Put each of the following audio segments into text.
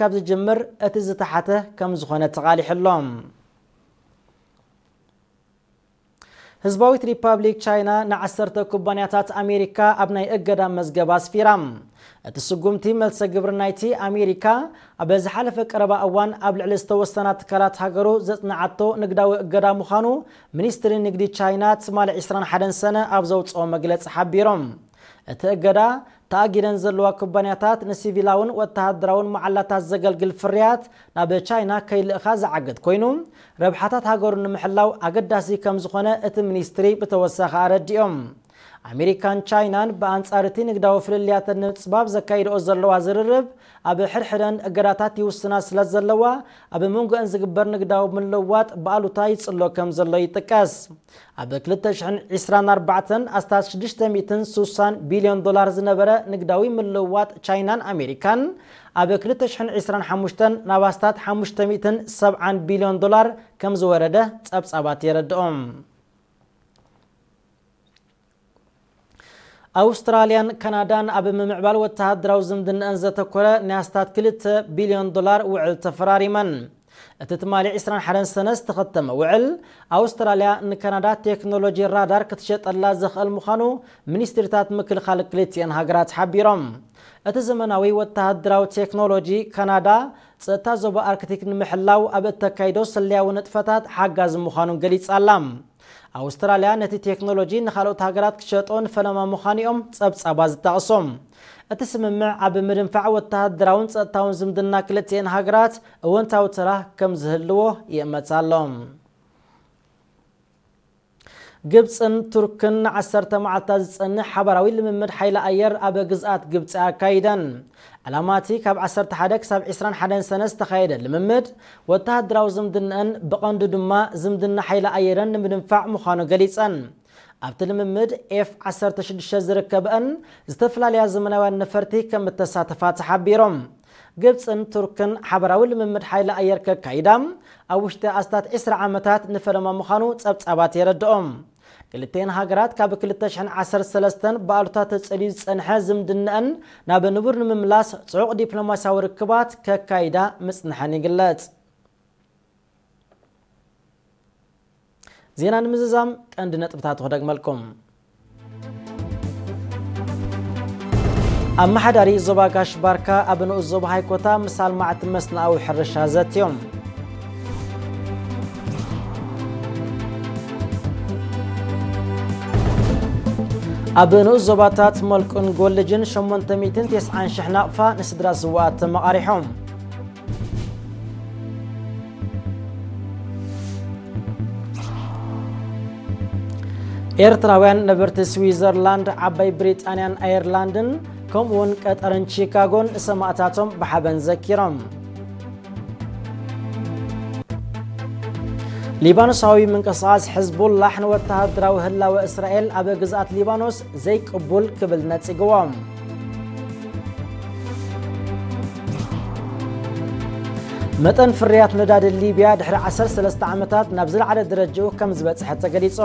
ካብ ዝጅምር እቲ ዝተሓተ ከም ዝኾነ ተቓሊሑ ኣሎ። ህዝባዊት ሪፓብሊክ ቻይና ንዓሰርተ ኩባንያታት ኣሜሪካ ኣብ ናይ እገዳ መዝገብ ኣስፊራ። እቲ ስጉምቲ መልሰ ግብሪ ናይቲ ኣሜሪካ ኣብ ዝሓለፈ ቀረባ እዋን ኣብ ልዕሊ ዝተወሰና ትካላት ሃገሩ ዘጽንዓቶ ንግዳዊ እገዳ ምዃኑ ሚኒስትሪ ንግዲ ቻይና ትማሊ ዕስራን ሓደን ሰነ ኣብ ዘውጽኦ መግለጺ ሓቢሮም። እቲ እገዳ ተኣጊደን ዘለዋ ኩባንያታት ንሲቪላውን ወተሃደራውን መዓላታት ዘገልግል ፍርያት ናብ ቻይና ከይልእኻ ዝዓግት ኮይኑ፣ ረብሓታት ሃገሩ ንምሕላው ኣገዳሲ ከም ዝኾነ እቲ ሚኒስትሪ ብተወሳኺ ኣረዲኦም። ኣሜሪካን ቻይናን ብኣንጻር እቲ ንግዳዊ ፍልልያተን ንምጽባብ ዘካይድኦ ዘለዋ ዝርርብ፣ ኣብ ሕድሕደን እገዳታት ይውስና ስለ ዘለዋ፣ ኣብ መንጎአን ዝግበር ንግዳዊ ምልውዋጥ ብኣሉታ ይጽሎ ከም ዘሎ ይጥቀስ። ኣብ ክልተ ሽሕን ዕስራን ኣርባዕተን ኣስታት ሽዱሽተ ሚእትን ስሳን ቢልዮን ዶላር ዝነበረ ንግዳዊ ምልውዋጥ ቻይናን ኣሜሪካን፣ ኣብ ክልተ ሽሕን ዕስራን ሓሙሽተን ናብ ኣስታት ሓሙሽተ ሚእትን ሰብዓን ቢልዮን ዶላር ከም ዝወረደ ጸብጻባት የረድኦም። ኣውስትራልያን ካናዳን ኣብ ምምዕባል ወተሃደራዊ ዝምድናኣን ዘተኮረ ናይ ኣስታት ክልተ ቢልዮን ዶላር ውዕል ተፈራሪመን። እቲ ትማሊ ዕስራን ሓደን ሰነ ዝተኸተመ ውዕል፣ ኣውስትራልያ ንካናዳ ቴክኖሎጂ ራዳር ክትሸጠላ ዘኽእል ምዃኑ ሚኒስትሪታት ምክልኻል ክልቲኤን ሃገራት ሓቢሮም። እቲ ዘመናዊ ወተሃደራዊ ቴክኖሎጂ ካናዳ ጸጥታ ዞባ ኣርክቲክ ንምሕላው ኣብ እተካይዶ ስለያዊ ንጥፈታት ሓጋዚ ምዃኑን ገሊጻ ኣላ። ኣውስትራልያ ነቲ ቴክኖሎጂ ንኻልኦት ሃገራት ክሸጦ ንፈለማ ምዃኑ እዮም ጸብጻባት ዝጠቕሱ። እቲ ስምምዕ ኣብ ምድንፋዕ ወተሃደራውን ጸጥታውን ዝምድና ክልቲኤን ሃገራት እወንታዊ ተራ ከም ዝህልዎ ይእመት ኣሎ። ግብጽን ቱርክን ንዓሰርተ መዓልታት ዝጸንሕ ሓባራዊ ልምምድ ሓይሊ ኣየር ኣብ ግዝኣት ግብጺ ኣካይደን። ዕላማ እቲ ካብ ዓሰርተ ሓደ ክሳብ ዕስራን ሓደን ሰነ ዝተኻየደ ልምምድ፣ ወተሃደራዊ ዝምድናኣን ብቐንዱ ድማ ዝምድና ሓይሊ ኣየረን ንምድንፋዕ ምዃኑ ገሊጸን። ኣብቲ ልምምድ ኤፍ ዓሰርተ ሽዱሽተ ዝርከበአን ዝተፈላለያ ዘመናውያን ነፈርቲ ከም እተሳተፋ ተሓቢሮም። ግብጽን ቱርክን ሓባራዊ ልምምድ ሓይሊ ኣየር ከካይዳ ኣብ ውሽጢ ኣስታት ዕስራ ዓመታት ንፈለማ ምዃኑ ጸብጻባት የረድኦም። ክልተን ሃገራት ካብ ክልተ ሽሕን ዓሰርተ ሰለስተን ብኣሉታ ተጸልዩ ዝጸንሐ ዝምድናኣን ናብ ንቡር ንምምላስ ጽዑቕ ዲፕሎማስያዊ ርክባት ከካይዳ ምጽንሐን ይግለጽ። ዜና ንምዝዛም ቀንዲ ነጥብታቱ ክደግመልኩም። ኣመሓዳሪ ዞባ ጋሽ ባርካ ኣብ ንኡስ ዞባ ሃይኮታ ምስ ኣልማዕቲ መስናኣዊ ሕርሻ ዘትዮም። ኣብ ንኡስ ዞባታት መልቁን ጎልጅን ሸሞንተ ሚእትን ተስዓን ሽሕ ናቕፋ ንስድራ ስውኣት ተመቓሪሖም። ኤርትራውያን ነበርቲ ስዊዘርላንድ፣ ዓባይ ብሪጣንያን ኣየርላንድን ከምኡውን ቀጠርን ቺካጎን ንሰማእታቶም ብሓበን ዘኪሮም። ሊባኖሳዊ ምንቅስቓስ ሕዝቡላሕ ንወተሃደራዊ ህላወ እስራኤል ኣብ ግዝኣት ሊባኖስ ዘይቅቡል ክብል ነጺግዎ። መጠን ፍርያት ነዳዲ ሊብያ ድሕሪ ዓሰርተ ሰለስተ ዓመታት ናብ ዝለዓለ ደረጃኡ ከም ዝበጽሐ ተገሊጹ።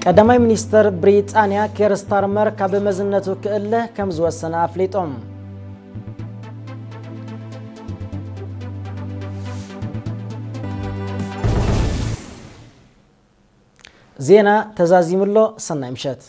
ቀዳማይ ሚኒስተር ብሪጣንያ ኬር ስታርመር ካብ መዝነቱ ክእለ ከም ዝወሰነ ኣፍሊጡ። ዜና ተዛዚሙ ኣሎ። ሰናይ ምሸት።